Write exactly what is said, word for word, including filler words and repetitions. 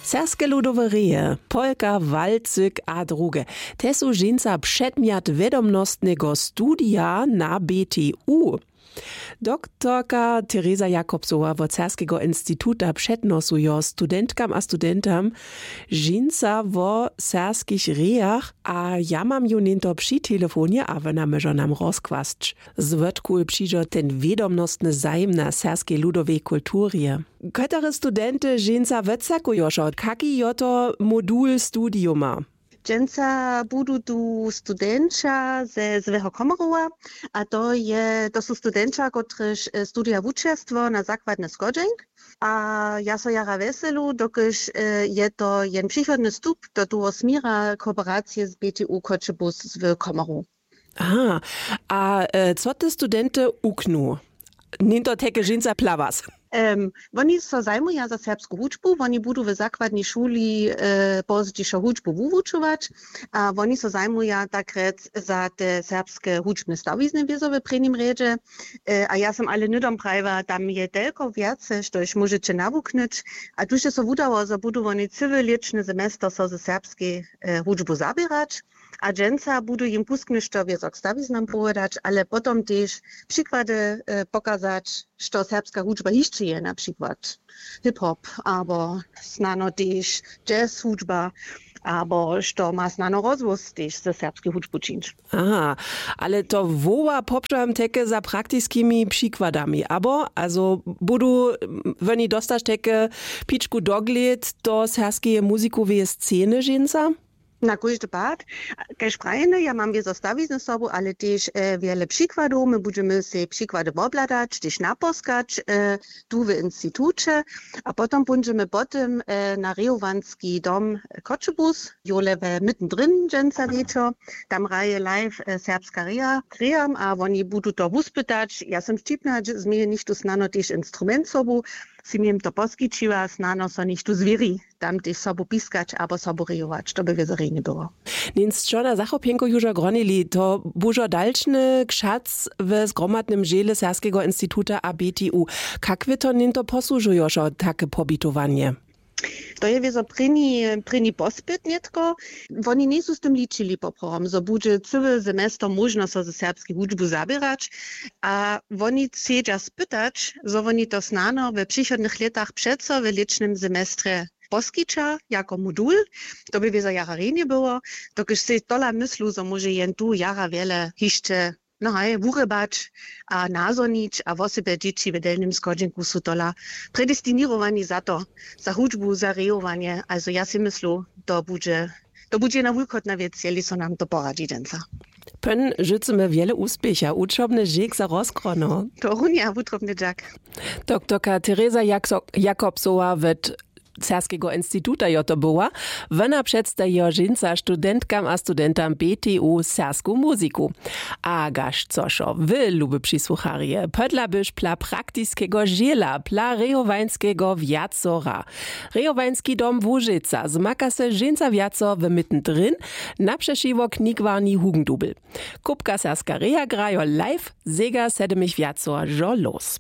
Serbske ludowe reje, polka, walcyk a druge, te su dźensa předmjat wědomnostneho studija na B T U. Doktorka Tereza Jakobsowa wot Serbskeho instituta přednosujo studentkam a studentam dźensa wo serbskich rejach a ja mam ju něnto při telefonje a wona móžo nam rozkłasć, zwótku přižo ten wědomnostny zajim na serbskej ludowej kulturje. Kotore studenty dźensa wotsakujošo, kaki jo to modul studiuma? Dźensa budu tu studentša ze złeho komarowa, a to je to su studentša kotryž studija wučerstwo na zakładny schodźenk. A ja so jara wjeselu dokelž je to jen přichodny stup do toho směra kooperacije z B T U Choćebuz z komarow. Aha. A co te studenty uknu? Něnto teke dźensa plawas. Woni so zajmuja za serbsku hudźbu, woni budu w zakładnej šuli pozdźišo hudźbu wuwučować. A woni so zajmuja takrjec za te serbske hudźbne stawizny wězo w prěnim rjedźe. A ja som ale hnydom prajiła, tam je telko wjace štož móžeće nawuknyć. A tuž je so wudało zo budu woni cyły lěćny semester so ze serbskej hudźbu zaběrać. A dźensa budu jim kusk něšto wězo k stawiznam powědać, ale potom tež přikłady pokazać, što serbska hudźba hišće je, na přikład hip-hop abo snano tež jazz hudźba, abo što ma snano rozhłós tež ze serbskej hudźbu čińć. Aha. Ale to woła poprawam teke za praktiskimi přikładami abo azo budu woni dostać teke pičku doglěd do serbskeje muzikoweje sceny dźensa? Na kóždy pad, kaž prajene, ja mam wězo stawizny sobu, ale tež wjele přikładow my budźemy sej přikłady wobhladać tež naposkać tu w instituće. A potom póńdźemy po tym na rejowanski dom, choćebuz jole we mytn dryn dźensa wječor. Tam hraje live serbska reja k rejam a woni budu to wuspytać. Ja sym wćipna změje něchtó snano tež instrument sobu, sym jim to poskićiła, snano so něchtó zwěri tam tež sobu piskać abo sobu rejować, to by wězo rjenje było. Něnc čona zachopjenko južo gronili to bužo dalčny kšac w zgromadnym dźěle serbskeho instituta a B T U. Kak wy to něnto posłužujošo take pobitowanje? To je wězo prěni prěni pospyt nětko. Woni njejsu z tym ličili poprawom zo budźe cyły semester móžno so ze serbskej hudźbu zaběrać. A woni chcedźa spytać zo woni to snano we přichodnych lětach přeco w lěćnym semestrje poskića jako modul. To by wězo jara rjenje było, dokelž sej tola myslu zo móže jen tu jara wjele hišće, no haj wurěbać a nazhonić a wosebje dźěći w delnim schodźenku su tola predestiněrowani za to, za hudźbu za rejowanje. Azo ja sej myslu to budźe to budźe jedna wulkotna wěc jeli so nam to poradźi dźensa. Pyn žycymy wjele wuspěcha wučobny žěk za rozkrono. To runje a wutrobny dźak. Doktorka tereza jakobsowa wot serbskeho instituta jo to była. Wona předstajijo dźensa studentkam a studentam B T U serbsku muziku. A gaž cošo wy luby přisłucharje, podla byš pla praktiskeho žěla pla rejowańskeho wjacora. Rejowański dom łužeca zmaka se dźensa wjacor w mytn dryn, na přešiwo knigwarni hugendubel. Kupka serbska reja grajo live, zegar sedymich wjacor žo los.